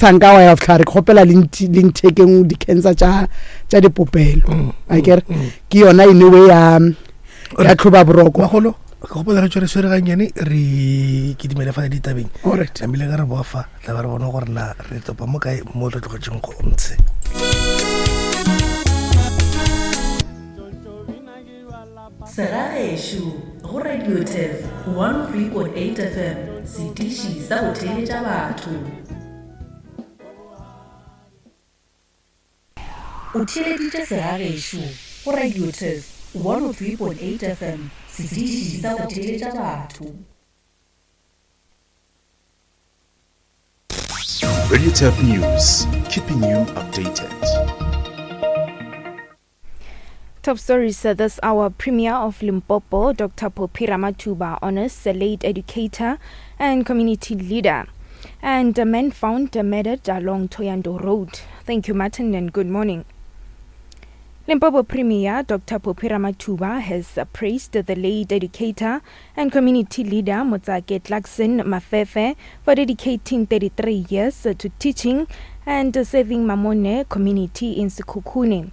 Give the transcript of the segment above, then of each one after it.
Sa nka wa ya fihla re kgopela le nthekeng di-cancer tša tša dipopelo mm, a mm, kere mm. ke yona in a way ya ya tlhoba boroko bagolo ke gopola re tswere swere gannyane re ke dumele fa ditabeng namile ka re boa fa tla ba re bone gore na re topa mo kae mo re tlogetseng go ntshe. Segagešo go Radio Turf 103.8 FM, setiši sa go theeletša batho. O theeleditše Segagešo go Radio Turf 103.8 FM, setiši sa go theeletša batho. Radio Turf News, keeping you updated. Top stories this hour. Premier of Limpopo, Dr. Phophi Ramathuba, honors the late educator and community leader. And a man found murdered along Thohoyandou Road. Thank you, Martin, and good morning. Limpopo Premier Dr. Phophi Ramathuba has praised the late educator and community leader Motsake Clarkson Mafefe for dedicating 33 years to teaching and serving Mamone community in Sekhukhune.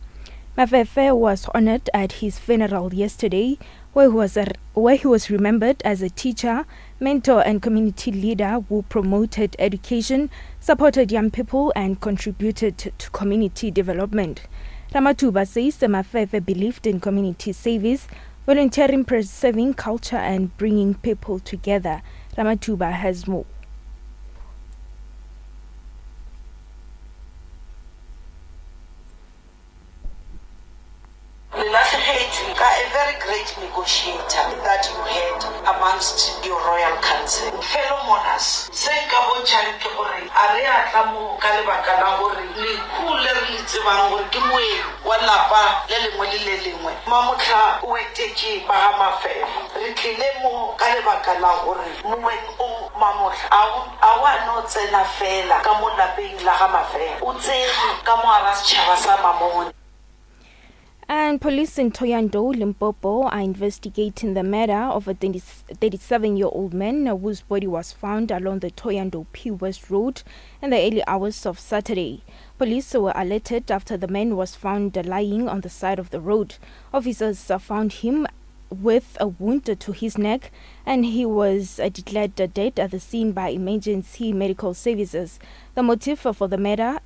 Mafefe was honored at his funeral yesterday, where he was, where he was remembered as a teacher, mentor, and community leader who promoted education, supported young people, and contributed to community development. Ramathuba says Mafefe believed in community service, volunteering, preserving culture, and bringing people together. Ramathuba has more. Le lahlegetšwe ka a very great negotiator that you had amongst your royal council. Fellow mourners, se nka bontšhang ke gore a re a tla mo ka lebaka la gore lehu le re le tsebang gore ke moeng wa lapa le lengwe le le lengwe, Mamohla o etetše ba ga Mafefa. Re tlile mo ka lebaka la gore moeng o Mamohla a o a wa no tsena fela ka mo lapeng la ga Mafefa, o tsene ka mo gara setšhaba sa Mamone. And police in Thohoyandou, Limpopo, are investigating the murder of a 37-year-old man whose body was found along the Thohoyandou P West Road in the early hours of Saturday. Police were alerted after the man was found lying on the side of the road. Officers found him with a wound to his neck, and he was declared dead at the scene by emergency medical services. The motive for the murder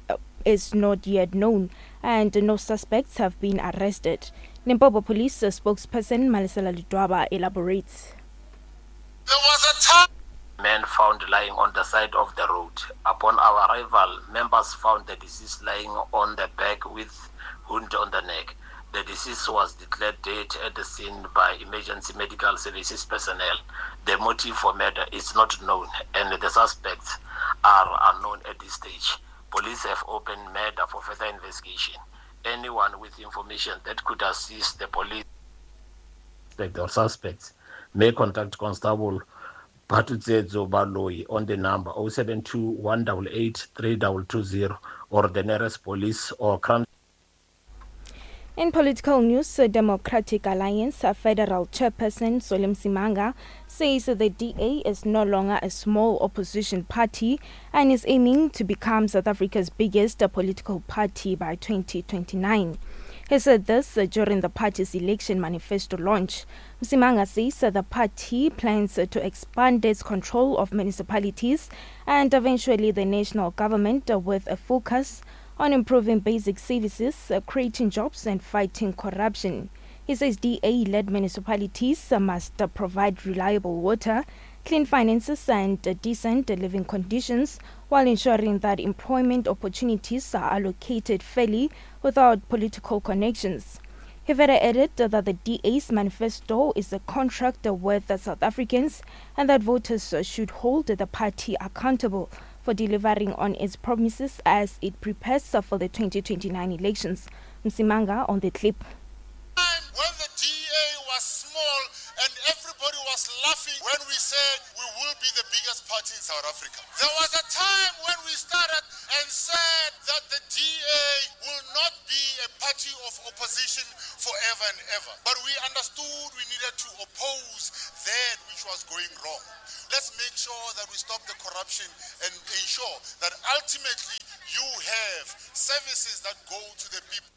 is not yet known, and no suspects have been arrested. Limpopo Police spokesperson Malesela Ledwaba elaborates. There was a time man found lying on the side of the road. Upon our arrival, members found the deceased lying on the back with wound on the neck. The deceased was declared dead at the scene by emergency medical services personnel. The motive for murder is not known, and the suspects are unknown at this stage. Police have opened murder for further investigation. Anyone with information that could assist the police or suspects may contact Constable Phathutshedzo Baloyi on the number 072 188 3220 or the nearest police or crime. In political news, Democratic Alliance Federal Chairperson Solly Msimanga says the DA is no longer a small opposition party and is aiming to become South Africa's biggest political party by 2029. He said this during the party's election manifesto launch. Msimanga says the party plans to expand its control of municipalities and eventually the national government with a focus on improving basic services, creating jobs and fighting corruption. He says DA-led municipalities must provide reliable water, clean finances and decent living conditions while ensuring that employment opportunities are allocated fairly without political connections. He further added that the DA's manifesto is a contract with the South Africans and that voters should hold the party accountable for delivering on its promises as it prepares for the 2029 elections. Msimanga on the clip. When the DA was small and everybody was laughing when we said we will be the biggest party in South Africa. There was a time when we started and said that the DA will not be a party of opposition forever and ever. But we understood we needed to oppose that which was going wrong. Let's make sure that we stop the corruption and ensure that ultimately you have services that go to the people.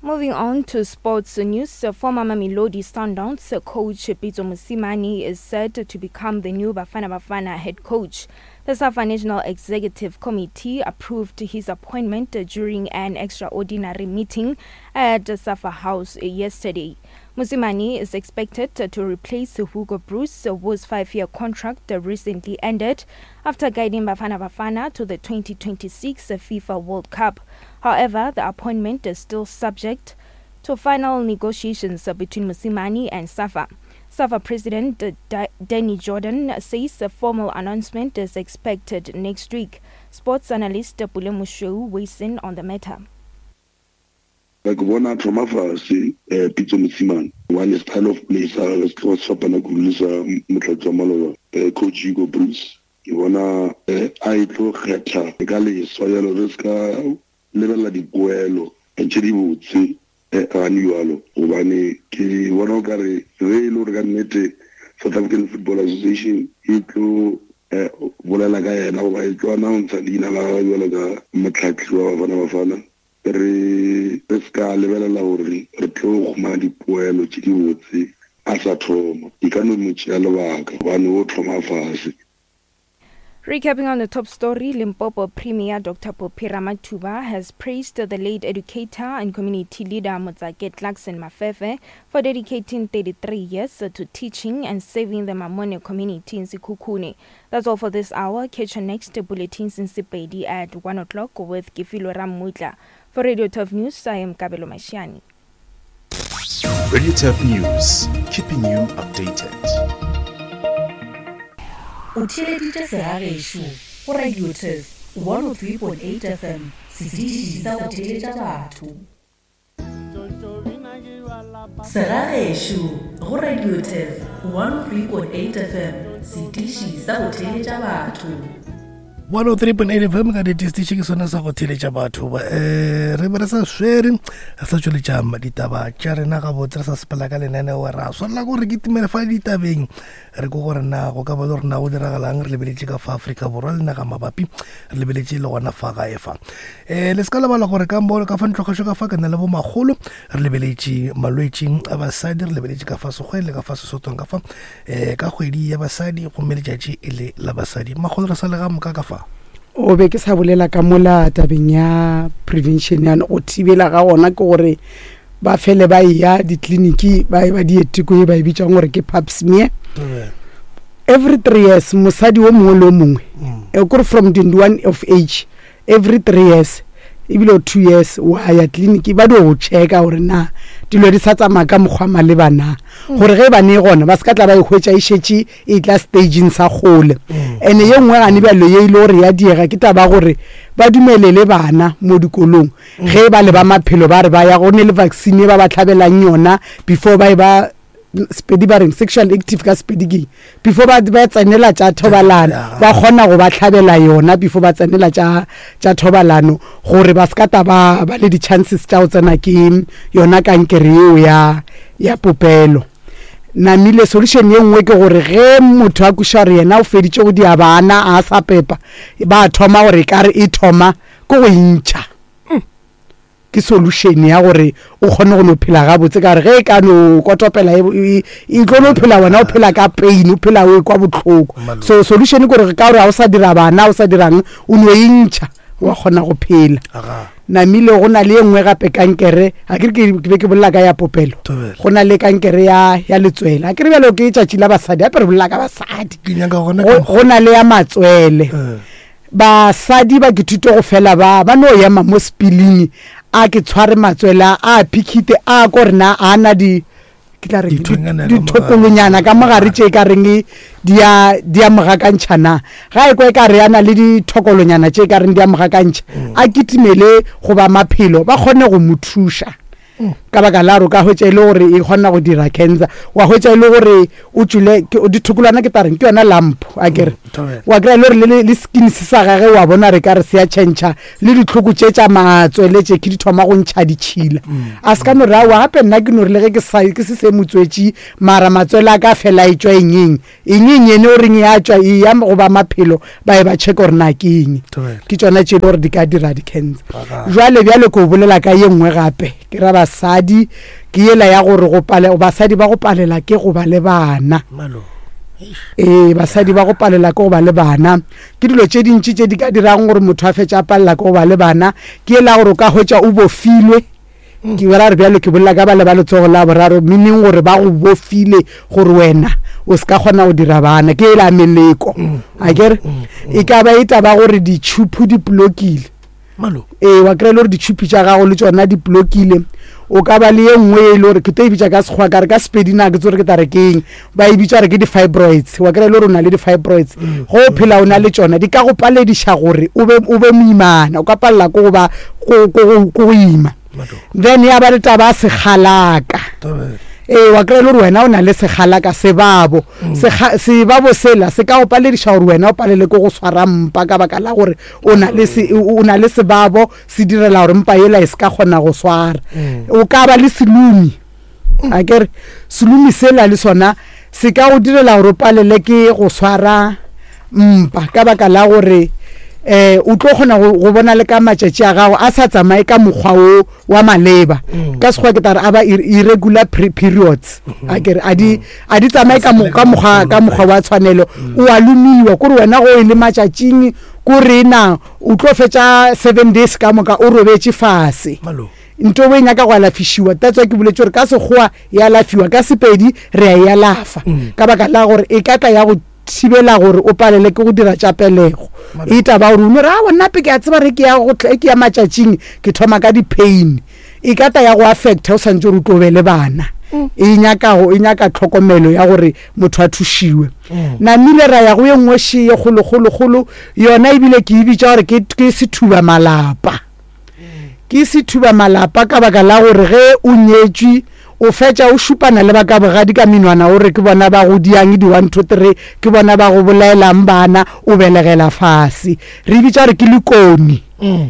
Moving on to sports news, former Mamelodi Sundowns coach Pitso Mosimane is said to become the new Bafana Bafana head coach. The SAFA National Executive Committee approved his appointment during an extraordinary meeting at SAFA House yesterday. Mosimane is expected to replace Hugo Broos, whose five-year contract recently ended after guiding Bafana Bafana to the 2026 FIFA World Cup. However, the appointment is still subject to final negotiations between Mosimane and SAFA. SAFA President Danny Jordaan says a formal announcement is expected next week. Sports analyst Pule Moshoeu weighs in on the matter. Ke bona a thoma fase Pitso Mosimane gobane style of play sa gagwe se tloga se fapana kudu le sa motlatsi wa maloba coach Hugo Broos. Ke bona a e tlo kgetha ka leswa bjalo re se ka lebelela dipoelo tše dibotse gane bjalo gobane ke bona o ka re ge e le gore ka nnete South African Football Association e tlo bolela ka yena goba e tlo announcer leina la gagwe bjalo ka mohlahli wa Bafana Bafana Re re se ka lebelela gore re tlo humana dipoelo tše dibotse a sa thoma. E ka no mo tšea lebaka gobane o thoma fase. Recapping on the top story, Limpopo Premier Dr. Phophi Ramathuba has praised the late educator and community leader Motsake Clarkson Mafefe for dedicating 33 years to teaching and serving the Mamone community in Sekhukhune. That's all for this hour. Catch your next bulletins in Sepedi at 1 o'clock with Kifilo Ramutla. For Radio 12 News, I am Kabelo Mashiani. Radio 12 News, keeping you updated. O theeleditše segagešo go Radio Turf 103.8 FM, setiši sa go theeletša batho. Segagešo go Radio Turf 103.8 FM, setiši sa go theeletša batho. 103.8 fm ka ditistiši ke sone sa go theletša batho um re be re sa swere re sa tšweletša ditaba tša rena gabotse re sa sepela ka lenaneo ra swanela gore ke timele fa ditabeng re ko gore na go ka ba le gore na go diragalang re lebeletše ka fa Afrika Borwa le naga mabapi re lebeletše le gona fa gae fa um le se ka lebala gore ka mo ka fa ntlogešo ka fa ke na le bomagolo re lebeletše malwetši a basadi re lebeletše ka fa sekgweng le ka fa sesotong ka fa um ka kgwedi ya basadi gomme letšatši e le la basadi magolo re sa le ga moka ka fa o be ke sa bolela ka mola tabeng ya prevention yana go thibela ga gona ke gore ba fele ba eya ditleliniki ba e ba dieteko ye ba e bitsang gore ke pap smear every three years mosadi o mongwe le o mongwe mm. e kore from 21 of age every three years ebile o two years wa ya tleliniki ba dio go checka gore na dilo di sa tsamaya ka mokgwa maleba na mm. gore ge e ba ne gona ba se ka tla ba e hwetša e šetše e tla stageng sa kgole mm. ene ye nngwe gane bjalo ye e le gore ya diega ke taba gore ba dumelele bana mo dikolong mm. ge ba le ba maphelo ba re ba ya go ne le vaccine ba ba tlhabelang yona before ba e ba sepedi ba reng sexual active ka sepedi keng before ba ba tsenela tša thobalano ba kgona go ba tlhabela yona before ba tsenela tša tša thobalano gore ba se ka ta ba ba le di-chances tša go tsena ke yona kankere yeo ya ya popelo namile solution ye nngwe ke gore ge motho a kweša gore yena o feditše go dia bana a sa pepa ba thoma gore e kare e thoma ke go intšha ke solution ya gore o kgone go no phela gabotse ka gore ge e ka no kotopela e, e, e tlo no phela wena o phela ka pain o phela o kwa botlhoko so solution ke gore ka gore ga o sa dira bana o sa dirang o no e ntšha wa kgona go phela namile go na le e nngwe gape kankere ga ke re ke be ke bolela ka ya popelo go na le kankere ya ya letswele ga ke re bjalo ke tšatši la basadi gape re bolela ka basadi go na le ya matswele eh. Basadi ba ke thuto go fela ba ba no ema mo sepiling a ke tshware matswele a a phikhite a ko rena a na di ke tla re dithokolonyana ka mogare tše ka reng di a di a mogakantšha na ga e kwa e ka re a na le dithokolonyana tše ka reng di a mogakantšha mm. a kitimele go ba maphelo ba kgone go mo thuša mm. Ka baka la gore o ka hwetša e le gore e kgona go dira cancer. Wa hwetša e le gore o tšwile dithokolwana ke tareng ke yona lump a kere. Wa kry-a e le gore le skin se sa gage wa bona re ka re se ya tšhentšha le ditlhoko tše tša matswele tše ke di thoma go ntšha ditšhila. A se ka no re aowa gape nna ke no re le ge ke sa ke se se motswetši mara matswele a ka fela e tšwa eng eng. Eng eng ene o reng ya tšwa e ya go ba maphelo ba e ba check gore na ke eng. Ke tšona tše e le gore di ka dira di-cancer. Jwale bjale ke o bolela ka ye nngwe gape ke ra basadi ke yela ya gore go pale basadi ba go palela ke go ba le bana. Ee, basadi ba go palela ke go ba le bana ke dilo tše dintši tše di ka dirang gore motho a fetša a palela ke go ba le bana. Ke yela gore o ka hwetša o bofilwe. Ke ra re bjalo ke bolela ka bale ba letsogo la boraro, meaning gore ba go bofile gore wena o se ka kgona go dira bana, ke ela meleko. A kere e ka ba e taba gore ditšhupu di blokile. Ee, wa kry-a e le gore ditšhupu tša gago le tšona di blokile. O ka ba le ye nngwe e le gore ke tlo e bitša ka Sekgowa ka re ka Sepedi na ke tsore ke tla re ke eng, ba e bitša gore ke di-fibroids. Wa kry-a e le gore o na le di-fibroids, ge o phela o na le tšona di ka go palediša gore o be, o be moimana, o ka palela ke go ba ko, ko, ko go ima. Then ya ba le taba ya segalaka. Ee, wa kry-a e le gore wena o na le segalaka, sebabo. Sebabo sela se ka go palediša gore wena o palele ke go swara mpa ka baka la gore o na le se, o na le sebabo se direla gore mpa yela e se ka kgona go swara. O ka ba le selumi. A ke re selumi sela le sona se ka go direla gore o palele ke go swara mpa ka baka la gore um o tlo kgona go bona le ka matšatši a gago a sa tsamaye ka mokgwa o wa maleba. Ka Sekgowa ke tla re a ba irregular periods. A ke re a di, a di tsamaye ka ka mokgwa, ka mokgwa wa tshwanelo. O a lomiwa, kore wena go e le matšatšing ko re na o tlo fetša 7 days ka moka o robetše fase. Nto e nyaka go alafišiwa, that's why ke boletše gore ka Sekgowa e alafiwa, ka Sepedi re a e alafa ka baka la gore e ka tla ya go thibela gore o palele ke go dira tša pelego. E taba gore o no re aowa nna pe ke a tseba re ke ya go ke ya matšatšing ke thoma ka di-pain, e ka tla ya go affecta o santse gore o tlo be le bana. E nyaka go, e nyaka tlhokomelo ya gore motho a thušiwe. Namile ra ya go ye nngwe še ye kgolokgolokgolo, yona ebile ke e bitša gore ke, ke sethuba malapa. Ke sethuba malapa ka baka la gore ge o nyetšwe o fetša o šupana le ba ka bogadi ka menwana o re ke bona ba go diang di 1 2 3, ke bona ba go bolaelang bana, o belegela fase. Re e bitša gore ke lekoni,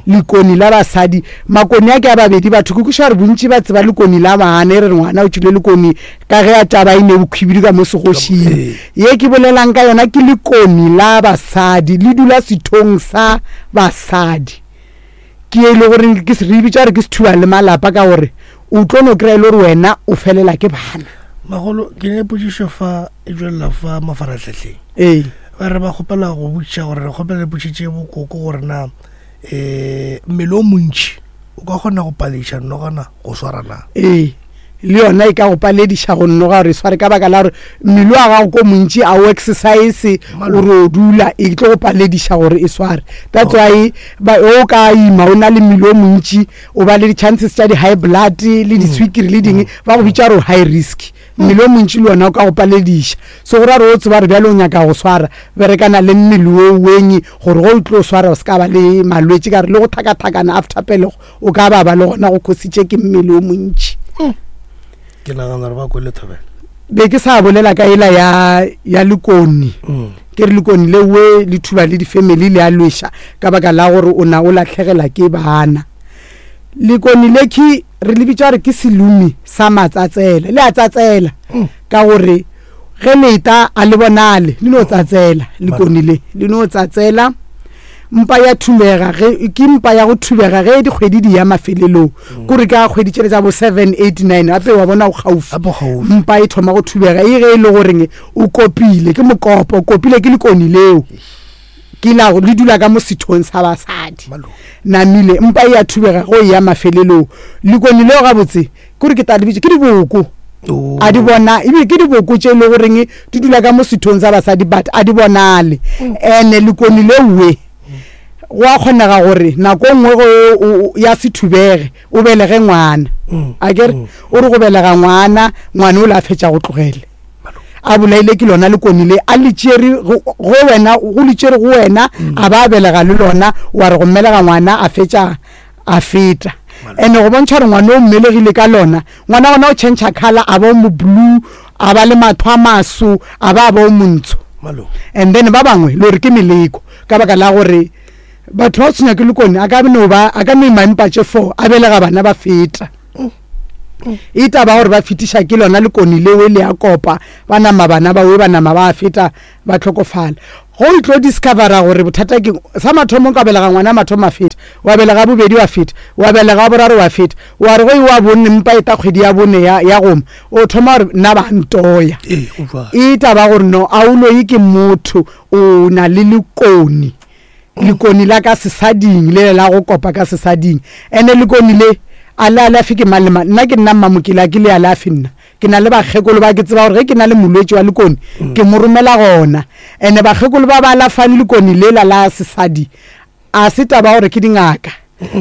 lekoni la basadi. Makoni a ke a babedi batho, ke kwešiša gore bontši ba tseba lekoni la bana, e re re ngwana o tšwile lekoni ka ge a taba e ne bokhwibidu ka mo segošing. Ye ke bolelang ka yona ke lekoni la basadi, le dula sethong sa basadi. Ke e le gore ke re bitša gore ke sethuba le malapa ka gore o tlo no kry-a e le gore wena o felela ke bana. Magolo, ke ne potšišo fa e tšwelela fa mafaratlhahleng. Ee. Ba re ba kgopela go botšiša gore re kgopela le botšitše bokoko gore na um mmele o montši o ka kgona go palediša nogana go swara na? Ee, le yona e ka go palediša go noga gore e sware ka baka la gore mmele wa gago ko montši a o exercise, o re o dula, e tlo go palediša gore e sware. That's why ba o ka ima o na le mmele o montši o ba le di-chances tša di-high blood le diswikiri le ding, ba go bitša gore o high risk. Mmele o montši le wona o ka go palediša. So go ra gore o tseba gore bjale o nyaka go swara, berekana le mmele o weng gore ge o tlo swara o se ka ba le malwetši ka gore le go thakathakana after pelego o ka ba ba le gona go khositše ke mmele o montši. Ke nagana gore ba kwele thobela. Be ke sa bolela ka ela ya, ya lekoni. Ke re lekoni le we le thuba le di-family le a lweša ka baka la gore o na o lahlegela ke bana. Lekoni le ke re le bitša gore ke selumi sa matsatsela, le a tsatsela ka gore ge le eta a le bonale, le no tsatsela lekoni le, le no tsatsela. Mpa ya thubega ge ke mpa ya go thubega ge dikgwedi di ya mafelelong, kore ka kgwedi tšele tša bo 7 8 9 gape wa bona o kgaufi, mpa e thoma go thubega e ge e le goreng o kopile ke mokopo, o kopile ke lekoni leo ke la le dula ka mo sethong sa basadi. Namile mpa e ya thubega go ya mafelelong, lekoni leo gabotse kore ke tla le bitša ke diboko, a di bona ebile ke diboko tše e le goreng di dula ka mo sethong sa basadi but a di bonale. Ene lekoni lewe go a kgonega gore nako nngwe go ya se thubege o belege ngwana, a kere o re go belega ngwana, ngwana o le a fetša go tlogele a bolaile ke lona lekoni le a le tšere go wena, go le tšere go wena a ba a belega le lona, wa re go mmelega ngwana a fetša a feta. Ene go bontšha gore ngwana o mmelegile ka lona, ngwana gona o change color a ba o mo blue, a ba le matho a maso, a ba a ba o montsho. And then ba bangwe le gore ke meleko ka baka la gore batho ba tshwenya ke lekone a ka no ba a ka no ima mpa tše four a belega bana ba feta. E taba gore ba fetiša ke lona lekone leo le a kopa ba nama bana ba we ba nama ba feta ba hlokofala. Go o tlo discovera gore bothata ke sa mathomo ka belega ngwana mathomo a feta, wa belega bobedi wa feta, wa belega boraro wa feta, wa re go e wa bonne mpa e ta kgwedi ya bone ya, ya goma, o thoma gore nna ba ntoya. E taba gore no a o loyi ke motho, o na le lekoni. Lekoni la ka sesading le la go kopa ka sesading. Ene lekoni le a le alafe ke mang le mang. Nna ke nna Mmamokele a ke le alafe nna. Ke na le bakgekolo ba ke tseba gore ge ke na le molwetši wa lekoni ke mo romela gona. Ene bakgekolo ba ba alafang lekoni lela la sesadi a se taba gore ke dingaka.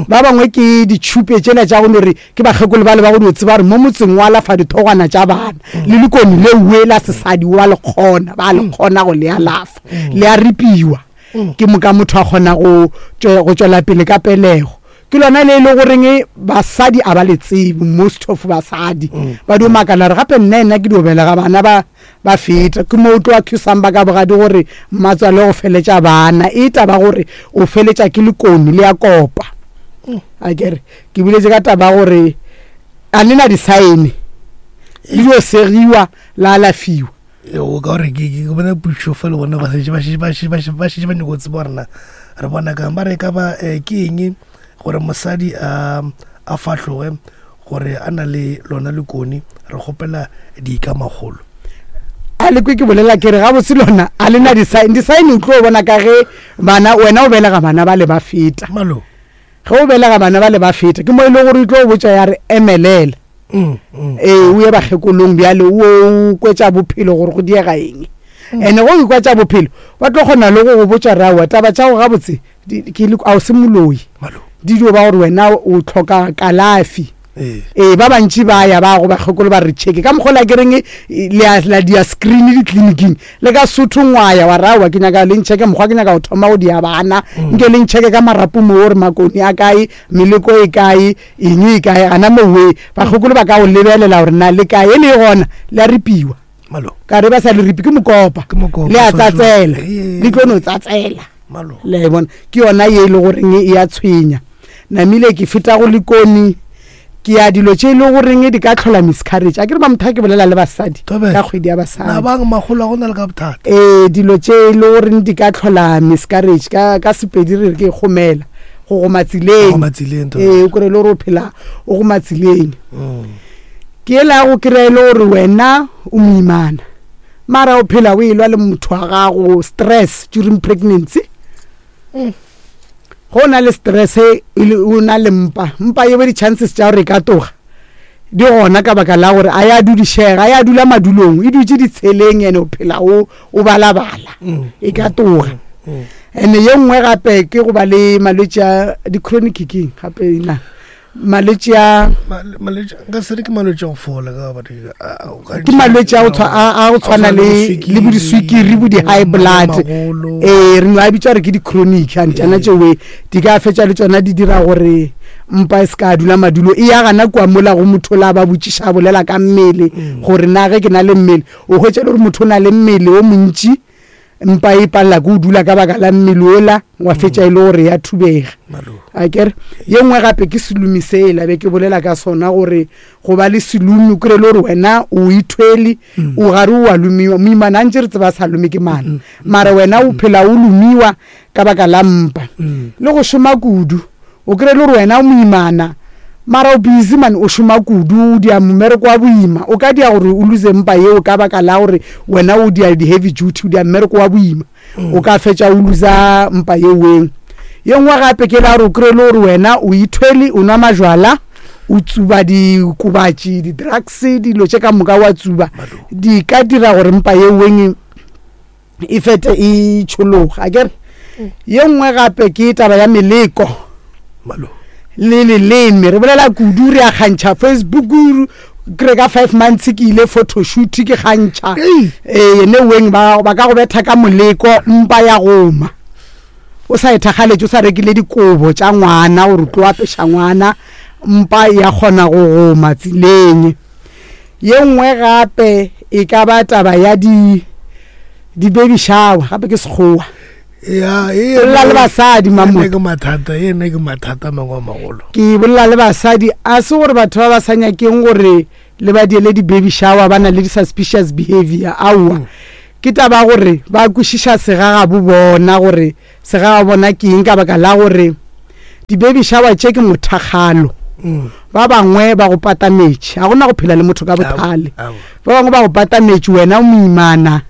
Ba bangwe ke ditšhupe tšela tša go no re ke bakgekolo ba le ba go dio tseba gore mo motseng o alafa dithogwana tša bana. Le lekoni lewe la sesadi wa le kgona, ba le kgona go le alafa. Le a ripiwa. Ke moka motho a kgona go tšwela pele ka pelego. Ke lona le e le goreng basadi a ba le tsebe, most of basadi ba dio makala gore gape nna ena ke dio belega bana ba ba feta. Ke mo o tlo accusang ba ka bogadi gore mmatswale go feletša bana, e taba gore o feletša ke lekoni le ya kopa. A kere ke boletse ka taba gore a le na di-sign le dio segiwa la alafiwa. O ka gore ke bona pušo fa le bona ba šetše ba šetše ba šetše ba šetše ba šetše ba nyako tseba gore na re bona kang ba re ka ba eh, ke eng gore mosadi a a fahloge gore a na le lona lekone re kgopela dika magolo a le kwe ke bolela ke re gabotse lona a le na di-sign di-sign o tlo bona ka ge bana wena o belega bana ba le ba feta malo ge o belega bana ba le ba feta ke mo e le gore o tlo botša ya re emelela mm, mm. Ee o ye bakgekolong bjale o kwetša bophelo gore go diega eng mm. ene go ikwa tša bophelo ba tlo kgona le go go botša rawa taba tša go gabotse a o se moloi di dio ba gore wena o tlhoka kalafi ee ba bantši ba ya ba go bakgekolo ba re checke ka mokgwa la ke reng la dia screen ditleliniking le ka sotho ngwaya wa rawa ke nyaka le ncheke mokgwa ke nyaka go thoma go dia bana nke le ncheke ka marapo mo gore makoni a kae meleko e kae eng e kae gana mowe bakgekolo ba ka go lebelela gore na le kae e le gona le a ripiwa ka re ba sa le ripi ke mokopa le a tsatsela le tlo no tsatsela le a e bona ke yona ye e le goreng e a tshwenya namile ke feta go lekoni ke ya dilo tše e le goreng di ka tlhola miscarriage a ke re mamotho ke bolela le basadi ka kgwedi ya basadi ee dilo tše e le goreng di ka tlhola miscarriage ka Sepedi re re ke kgomela go goma tseleng ee o kry-e le gore o phela o goma tseleng mm. Ke yela ya go kry-a e le gore wena o moimana mara o phela o elwa le motho wa gago stress during pregnancy mm. Go o na le stress e o na le mpa mpa yeo di-chances tša gore e ka toga di gona ka baka la gore a ya dudišega a ya dula madulong e dutše ditsheleng ene o phela o o balabala mm. e ka toga mm. Ene ye nngwe gape ke go ba le malwetši a di-chronic keng gape na malwetši a nka se re ke malwetši a go fola ke malwetši a go tshwana le le bo diswikiri bo di-high blood ee re no a bitsa gore ke di-chronic and tsona tšewe di ka fetša le tsona di dira gore mpa e se ka dula madulo e ya gana kua mola go motho la ba botšiša a bolela ka mmele mm. gore na ge ke na le mmele o hwetša le gore motho o na le mmele o montši mpa e palela ke o dula ka baka la mmele ola wa fetša e le gore ya thubega a kere ye nngwe gape ke selomi sela be ke bolela ka sona gore go ba le selomi o kry-e le gore wena o ithwele mm. o gare o a lomiwa moimana a ntse re tseba sa lome ke mana mm. mara wena o phela o lomiwa ka baka la mpa le go šoma kudu O kry-e le gore wena o moimana mara o busy man o šoma kudu o dia mmereko wa boima o ka dia gore o lose mpa yeo ka baka la gore wena o dia di-heavy duty o dia mmereko wa boima o ka fetša o losa mpa yeweng ye nngwe gape ke la gore o kry-e le gore wena o ithwele o nwa majwala o tsuba dikobatši di-drugs dilo tše ka moka wa tsuba di ka dira gore mpa yeweng e fete e tšhologa akere ye nngwe gape ke taba ya meleko le leleme re bolela kudu re a kgantšha facebook kry ka five months ke ile photoshoot ke kgantšha ee ene weng ba ka go betha ka moleko mpa ya goma o sa e thakgaletše o sa rekile dikobo tša ngwana gore o tlo apeša ngwana. Mpa ya kgona go goma tseleng. Ye nngwe gape e ka ba taba ya di di baby shower gape ke sekgowa. Ya, e Bolela le basadi Mamo. Ke mathata, ene ke mathata a mangwe a magolo. Ke bolela le basadi a se gore batho ba ba sa nyakeng gore le ba diele di baby shower ba na le di suspicious behavior aowa. Mm. Ke taba gore ba kwešiša segagabo bona gore Segagabo bona ke eng ka baka la gore di-baby shower tše ke mothakgalo. Mm. Ba bangwe ba go patametše, ga gona go phela le motho ka bothale. Ba bangwe ba go patametše wena o moimana,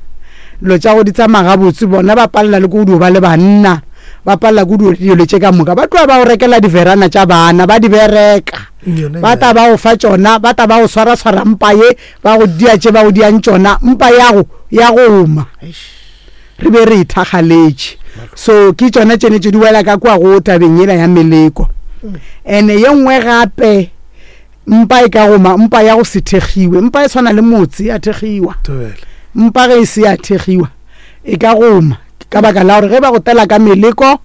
dilo tša go di tsamaya gabotse, bona ba palela le ko go dio ba le banna, ba palela ko dio dilo tše ka moka. Ba tloga ba go rekela diverana tša bana, ba di bereka. Ba tla ba go fa tšona, ba tla ba go swara-swara mpa ye, ba go dia tše ba go diang tšona, mpa yago ya go oma. Re be re ithakgaletše. So ke tšona tšene tše di wela ka kua go tabeng yela ya meleko. Ene ye nngwe gape mpa e ka goma mpa ya go se thekgiwe. Mpa e tshwana le motse ya thekgiwa. Mpa ge e se ya thekgiwa e ka goma ka baka la gore ge ba go tela ka meleko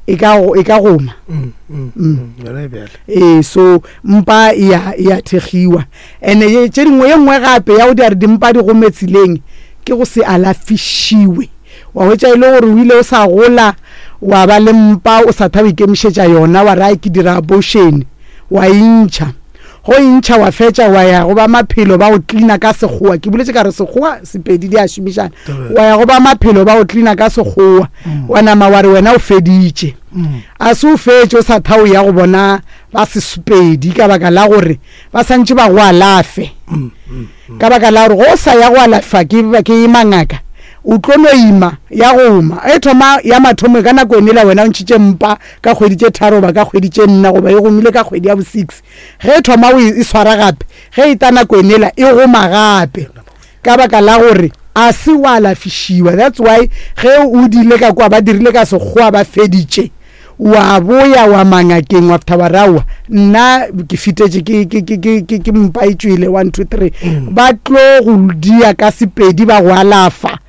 e ka e ka goma mm, mm, mm. mm. ee so mpa e ya e ya thekgiwa ene ye tše dingwe ye nngwe gape ya go di re dimpa di gome tseleng ke go se alafišiwe wa hwetša e le gore o ile o sa gola wa ba le mpa o sa tha o ikemišetša yona wa re ai ke dira abortion wa e ntšha Go e ntšha wa fetša wa ya go ba maphelo ba go cleaner ka sekgowa. Ke boletše ka re sekgowa Sepedi di a šomišana. Wa ya go ba maphelo ba go cleaner ka sekgowa. Mm. Wa nama wa re wena o feditše. Mm. A se o fetše o sa tha o ya go bona ba sesupedi ka baka la gore ba santše ba go alafe. Mm, ka baka la gore go sa ya go alafa ke ke mangaka o tlo no ima ya go oma e thoma ya mathomo ka nako ene la wena o ntšhitše mpa ka kgwedi tše tharo goba ka kgwedi tše nna goba e gomile ka kgwedi ya bo six Ge e thoma o e swara gape, ge e ta nako enela e goma gape ka baka la gore a se wa alafišiwa. That's why ge o dile ka kwa ba dirile ka sekgowa ba feditše wa boya wa mangakeng wa fitha wa re aowa nna ke fitetše ke ke ke ke ke ke mpa e tšwele 1 2 3 mm. ba tlo go dia ka sepedi ba go alafa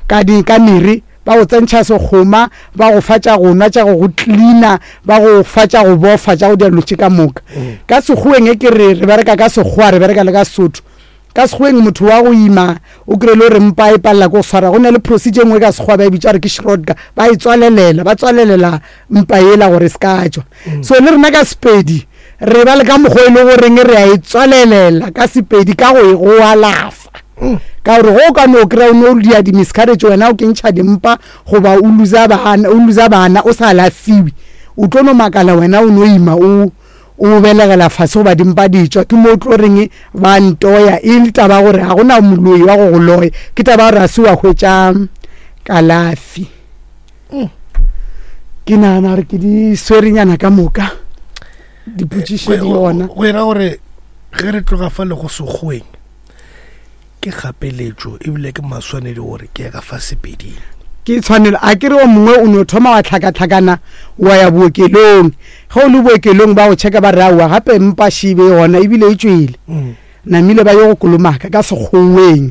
ka di ka mere ba go tsentšha sekgoma ba go fa tša go nwa tša go go cleaner ba go fa tša go bofa tša go dira dilo tše ka moka mm. ka sekgoweng e ke re re bereka ka sekgowa re bereka le ka sesotho ka sekgoweng motho wa go ima o kry-e le gore mpa e palela ko go swara go na le procedure e nngwe ka sekgowa ba e bitsa gore ke shrodka ba e tswalelela ba tswalelela mpa ela gore se ka tšwa mm. so le rena ka sepedi re ba le ka mokgwa e le goreng re a e tswalelela ka sepedi ka go e go alafa mm. ka gore go o ka no kry-a o ne o dia di-miscarriage wena o kentšha dimpa goba o losa bana o losa bana o sa alafiwe o tlo no makala wena o no ima o o belegela fase goba dimpa di tšwa ke mo o tlo reng ba ntoya e le taba gore ga gona moloi wa go go loya ke taba gore ga se wa hwetša kalafi mm. Ke nagana gore ke di swerenyana ka moka dipotšišo di gona. Go era gore ge re tloga fa le go sekgoweng ke kgapeletšo ebile ke maswanedi gore ke ya ka fa sepeding. Ke tshwanelo a ke re o mongwe o no thoma wa tlhakatlhakana wa ya bookelong ge o le bookelong ba go checka ba re aowa gape mpa šibe e gona ebile e tšwele mm. Namile ba yo go kolomaka ka sekgoweng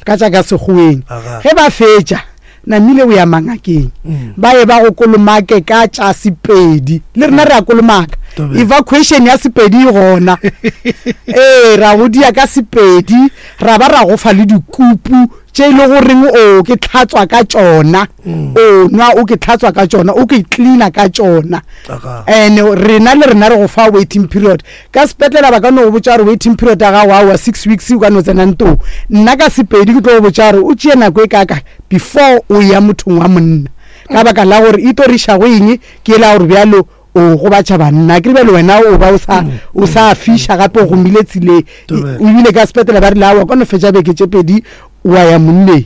ka tša ka sekgoweng ge ba fetša namile o ya mangakeng mm. ba ye ba go kolomake ka tša sepedi le rena re a kolomaka evacuation ya sepedi e gona ee ra go dia ka sepedi ra ba ra go fa le dikupu tše e le goreng o ke tlhatswa ka tšona mm. o nwa o ke tlhatswa ka tšona o ke cleaner ka tšona and rena le rena re go fa waiting period Ka sepetlela ba ka no go botša gore waiting period ya gago aowa six weeks o ka no tsena ntong. Nna ka Sepedi ke tlo go botša gore o tšee nako e kaka before o eya mothong wa monna. Ka baka la gore e tlo re iša go eng ke ela gore bjalo o gobatša banna. Akere bjalo wena o ba o sa o sa fiša gape o gomile tseleng. Ebile ka sepetlela ba rile aowa ka no fetša beke tše pedi wa ya monneng.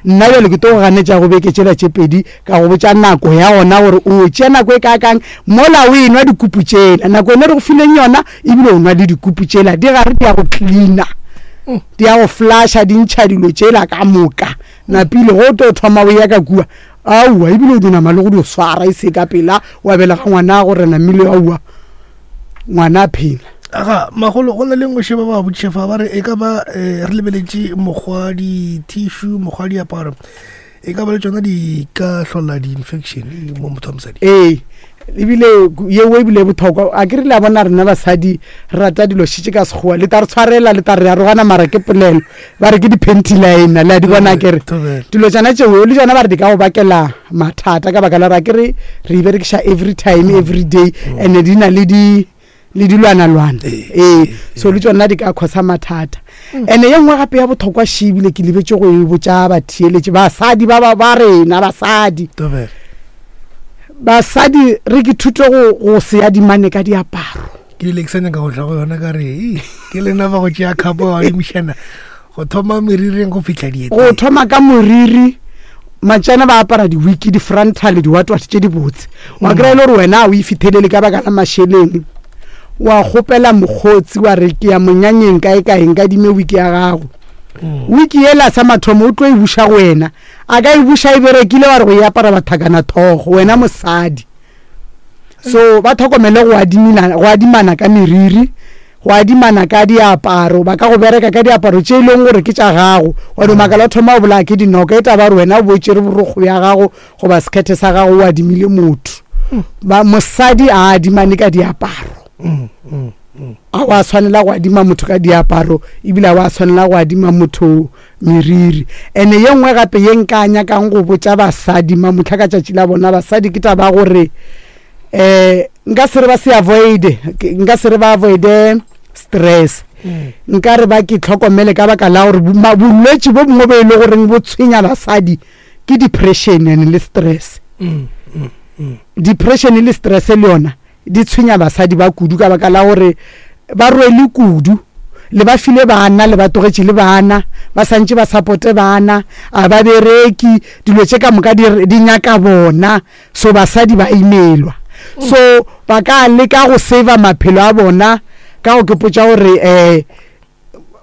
Nna bjale ke tlo go ganetša go beke tšela tše pedi ka go botša nako ya gona gore o tšea nako e kaakang mola o enwa dikupu tšela. Nako yone re go fileng yona ebile o nwa le dikupu tšela di gare di ya go cleaner, di ya go flusha, di ntšha dilo tšela ka moka. Napile go tlo thoma o ya ka kua aowa ebile o dinama le go di swara e se ka pela wa belega ngwana gore namile aowa. Ngwana a phela. Aga, magolo, go na le nngwe šeba ba botšiša fa ba re e ka ba eh, re lebeletše mokgwa di-tissue, mokgwa diaparo, e ka ba le tšona di ka hlola di-infection mo motho wa mosadi. Ee, Ebile yeo ebile e bothokwa. A ke re le a bona rena basadi re rata dilo šitše ka Sekgowa. Le ta re tshwarela, le ta re arogana mara ke polelo. Ba re ke di-panty liner, le a di bona ke re. Dilo tšona tšeo le tšona ba re di ka go bakela mathata ka baka la gore a ke re re e berekiša every time, every day and di na le di le dilwanalwana. Ee, so le tšona di ka causa mathata. And ye nngwe gape ya bothokwa še ebile ke lebetše go e botša batheeletši, basadi ba ba rena, basadi. Basadi re ke thute go go se adimane ka diaparo. Ke ile ke sa nyaka go tla go yona ka re ke lena ba go tšea khapo wa adimišana go thoma meriring go fihla dieteng. Go thoma ka moriri matšana ba apara di-wiki di-frontal diwatwate tše dibotse wa kry-a e le gore wena a o e fithelele ka baka la mašeleng wa kgopela mokgotsi wa re ke ya monyanyeng kae kae nka dime wiki ya gago wiki yela sa mathomo o tlo e buša go wena A ka e buša e berekile wa re go e apara bathakana thogo wena mosadi. So ba tlhokomele go adimina go adimana ka meriri, go adimana ka diaparo, ba ka go bereka ka diaparo tše e leng gore ke tša gago. Wa no makala o thoma go bolaya ke dinoka e taba gore wena o bo tšere borokgo bja gago goba sekhethe sa gago o adimile motho. Ba mosadi a adimane ka diaparo. A wa tshwanela go adima motho ka diaparo ebile a wa tshwanela go adima motho meriri. Ene ye nngwe gape ye nka nyakang go botša basadi mamohla ka tšatši la bona basadi ke taba ya gore um nka se re ba se avoide, nka se re ba avoide stress. Nka re ba ke tlhokomele ka baka la gore bolwetši bo bongwe bo e le goreng bo tshwenya basadi ke depression and le stress. Depression le stress le yona di tshwenya basadi ba kudu ka baka la gore ba rwele kudu, le ba file bana, le ba togetše le bana, ba santše ba supporte bana, a ba bereki, dilo tše ka moka di, di nyaka bona, so basadi ba imelwa. So ba ka leka go saver maphelo a bona ka go ke potša gore um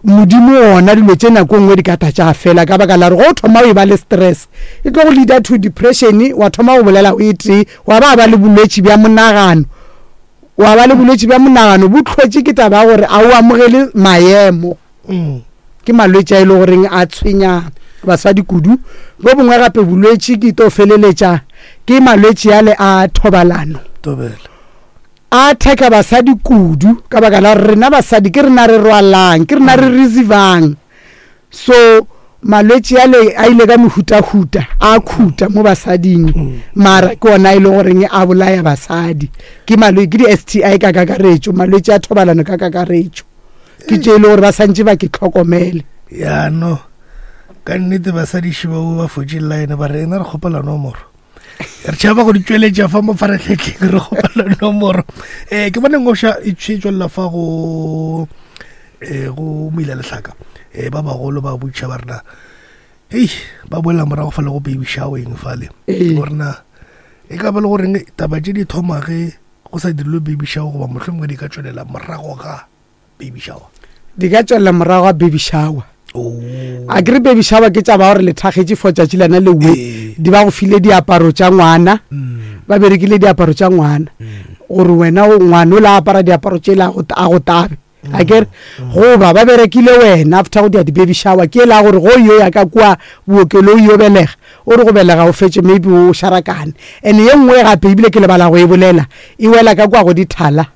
Modimo wona dilo tše nako nngwe di ka tla tša fela ka baka la gore go thoma o e ba le stress e tlo go leader to depression, wa thoma go bolela o e tee, wa ba ba le bolwetši bja monagano, wa ba le bolwetši bja monagano bo tlhotše ke taba ya gore a o amogele maemo. Ke malwetši a e le goreng a tshwenya basadi kudu. Bo bongwe gape bolwetši ke to feleletša ke malwetši ale a thobalano. Tobela. A attack-a basadi kudu ka baka la gore rena basadi ke rena re rwalang, ke rena re receivang. So malwetši ale a ile ka mehutahuta a khuta mo basading, mara ke ona e le goreng a bolaya basadi. Ke malwe ke di-S_T_I ka kakaretšo, malwetši a thobalano ka kakaretšo. Ke tše e le gore ba santše ba ke tlhokomele. Ya no, ka nnete basadi šeba ba fotše line ba re ena re kgopela nomoro. Re tšhaba go di tšweletša fa mo faratlhatlheng re kgopela nomoro. Um ke bone ngoša e tšwelela fa go um go moila lehlaka um ba bagolo ba botša ba rena hei ba boela morago fa le go baby showering fale gorena e ka ba le goreng taba tše di thoma ge go sa dirilwe baby shower goba mohlomongwe di ka tšwelela morago ga baby shower. Di ka tšwelela morago ga baby shower. Oh. A ke re baby shower ke tša ba gore le thakgetše for tšatši lena lewe di ba go file diaparo tša ngwana. Ba berekile diaparo tša ngwana gore wena o ngwana o la apara diaparo tše la a go tabe. A ke re goba ba berekile wena after go dia di baby shower ke la gore go yo ya ka kua bookelong yo belega o re go belega o fetše maybe o šarakane. And ye nngwe gape ebile ke lebala go e bolela e wela ka kua go dithala.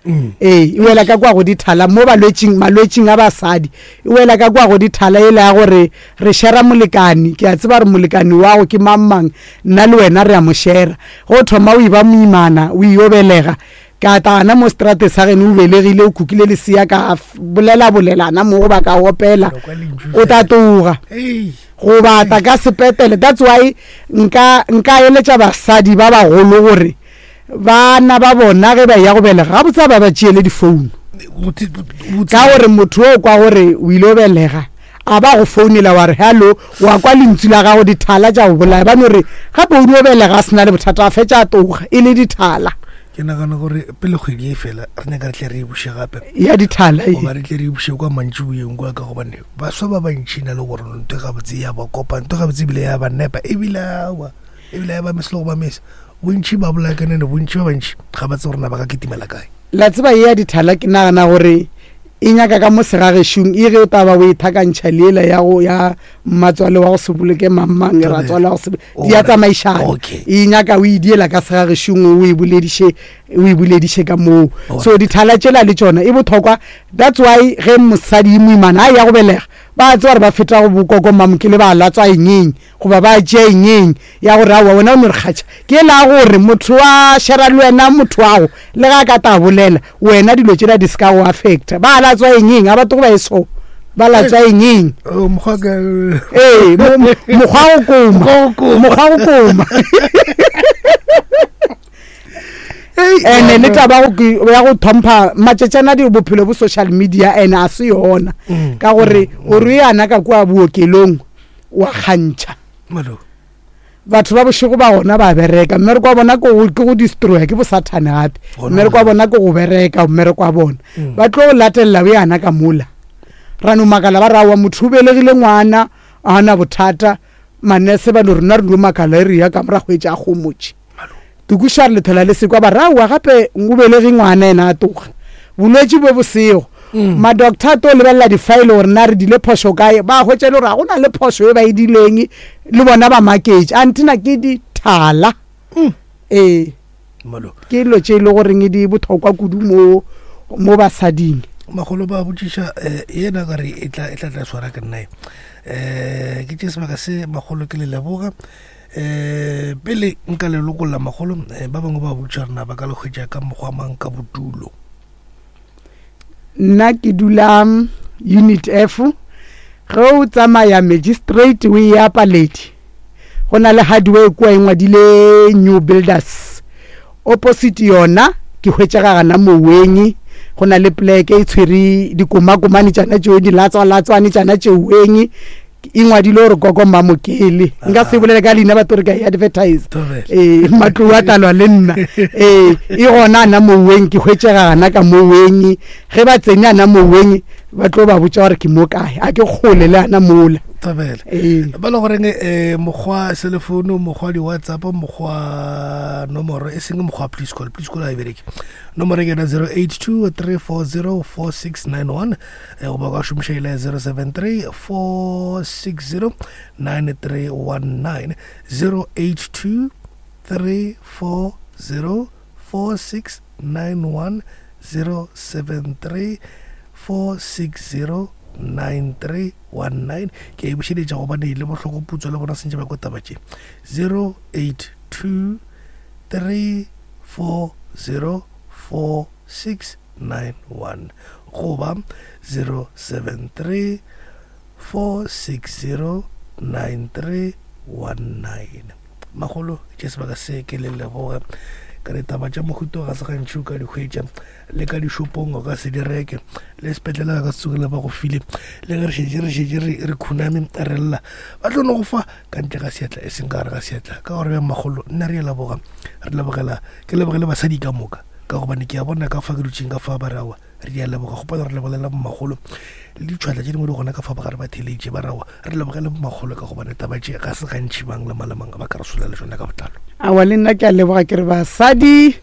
Ee, e wela ka kua go dithala mo balwetšing, malwetšing a basadi. E wela ka kua go dithala ele ya gore re shera molekani. Ke a tseba gore molekani wa go ke mang mang, nna le wena re a mo shera. Ge o thoma o eba moimana, o iyo belega, ka tla gana mo seterateng sa geno o belegile, o kukile lesea, ka bolelabolelana mo goba ka opela, o tla tloga. Goba tla ka sepetele. That's why nka, nka eletša basadi ba bagolo gore Bana ba bona ge ba eya go belega, gabotse a ba ba tšeele difounu. Ka gore motho o kwa gore o ile o belega, a ba go founela wa re hello, wa kwa lentšu la gago dithala tša go bolaya. Ba no re gape o dio belega a se na le bothata, a fetša a tloga e le dithala. Ke nagana gore pele kgwedi e fela re nyaka re tle re e buše gape. Ya dithala e. Goba re tle re e buše kwa mantšiboeng kwa ka gobane baswa ba bantši na le gore ntho e gabotse ya ba kopa, ntho e gabotse ebile ya ba nepa ebile aowa ebile ya ba mesa le go ba mesa. Bontši ba bolaya ka nene, bontši ba bantši ga ba tsebe gore na ba ka kitimela kae. La tseba ye ya dithala ke nagana gore E nyaka ka mo segagešong e ge o taba o e thakantšha le ela ya go ya mmatswale wa go se boloke mangmang e ratswale wa go se di a tsamaišana. E nyaka o e diela ka segagešong o e bolediše o e bolediše ka moo. So dithala tšela le tšona e bothokwa. That's why ge mosadi e moimana a ya go belega ba tseba gore ba feta go bokoko mamokele ba latswa engeng goba ba tšea engeng ya gore aowa wena o no re kgatšha ke la gore motho wa shera le wena motho wago le ga a ka ta bolela wena dilo tšela di se ka go affecta ba latswa engeng a batho go ba e so ba latswa engeng oh, ee mokgwa go koma mokgwa go koma ene le taba ya go thompha matšatšana di bophelo bo social media ene a se yona mm. ka gore mm. o re yana ka kua bookelong wa kgantšha batho ba bošego ba gona ba bereka mmereko wa bona ke go destroya ke bosathane gape mmereko wa bona ke go bereka mmereko wa bona mm. ba tlo latelela o yana ka mola ra no makala ba rawa motho o belegile ngwana a na bothata manese ba no rena re no makala e re ya ka morago e tša gomotše Tukuša re lethela le sekwa ba rawa gape o belege ngwana ena a toga bolwetši bo bosego mm. ma-doctor a to lebelela di-file gore na re dile phošo kae ba hwetša le gore ga go na le phošo e ba e dileng le bona ba maketše antina ke dithala mm. ee ke dilo tše e le goreng di bothokwa kudu mo mo basading magolo ba botšiša um yena kare e tla e tla swara ke nnae um ke tše sebaka se magolo ke le leboga um pele nka le lokolla magolo eh, ba bangwe ba botša rena ba ka le hwetša ka mokgwa mang ka bodulo nna ke dula mm, unit f ge o tsamaya magistrate o e ya paledi go na le hardware kua e ngwadile new builders opposite yona ke hwetšega gana moweng go na le pleke e tshwere dikomakomane tšana tšeo dilatswalatswane tšana tšeweng e ngwadile gore koko mmamokele nka se bolele ka leina batho re ka e advertise ee matlou a talwa le nna ee e gona ana moweng ke hwetšega gana ka moweng ge ba tsene ana moweng ba tlo ba botša gore ke mo kae a ke kgole le ana mola tabele ee. ba le goreng um mokgwa cellphone mokgwa di-whatsapp mokgwa nomoro e seng mokgwa please call please call a e bereke nomoro ke yona 082 340 4691 eh, goba ka šomiša ile ya 073 460 9319 082 340 4691 073 460 9319 ke a e bušeletša gobane le bohloko putswa le bona sentše ba ko taba tše 082 340 46 91 goba 073 460 9319. Magolo tše sebaka se ke le leboge ka ditaba tša mohuto ga se gantši o ka di hwetša le ka dišopong o ka se di reke le sepetlele ga ka se tsogile ba go file le ge re šetše re šetše re khuname re lla ba tlo no go fa ka ntle ga seatla e seng ka gare ga seatla ka gore bjang magolo nna re leboga re lebogela ke lebogele basadi ka moka ka gobane ke a bona ka fa ke dutšeng ka fa ba re awa re a leboga gopela re lebolela bomagolo le ditšhwatla tše dingwe di gona ka fa ba gare ba theletše ba rawa re lebogele bomagolo ka gobane taba tše ga se gantši bang le malemang ba ka re sola le tšona ka botlalo. Awa le nna ke a leboga ke re basadi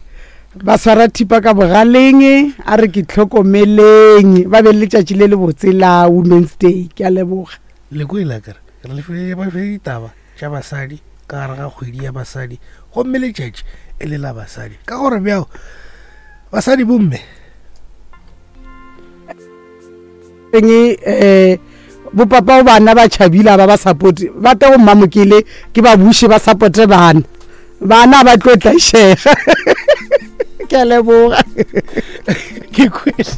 ba swara thipa ka bogaleng a re ke tlhokomeleng ba be le letšatši le lebotse la Women's Day ke a leboga. Le kwele akere re le file ditaba tša basadi ka gare ga kgwedi ya basadi gomme letšatši e le la basadi ka gore bjao basadi bomme eng um bopapa go bana ba tšhabile ba ba supporte ba te go mmamokele ke ba buše ba supporte bana bana ba tlo tlaišega ke a leboga ke kwele.